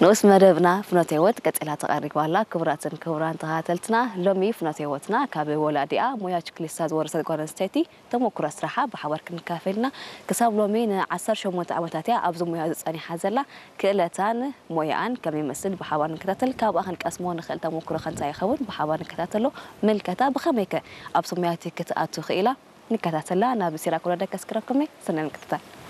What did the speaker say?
ንኡስ መደብና ፍኖተ ህይወት ቀጺላ ተቐሪባ ኣላ። ክቡራትን ክቡራን ተኸታተልትና፣ ሎሚ ፍኖተ ህይወትና ካብ ወላዲኣ ሞያ ችክሊስታ ዝወረሰት ጓል ኣንስተይቲ ተሞክሮ ስራሓ ብሓባር ክንካፈል ኢና። ክሳብ ሎሚ ንዓሰርተ ሸሞንተ ዓመታት እያ ኣብዚ ሞያ ዝጸኒሓ ዘላ። ክእለታን ሞያኣን ከመይ ይመስል ብሓባር ንከታተል። ካብኣ ክንቀስሞ ንኽእል ተሞክሮ ከ እንታይ ይኸውን ብሓባር ንከታተሎ። ምልከታ ብኸመይ ከ ኣብዚ ሞያ እቲ ክትኣቱ ክኢላ ንከታተላ። ናብ ሲራክ ወረደ ከስክረኩም እየ። ሰናይ ምክትታል።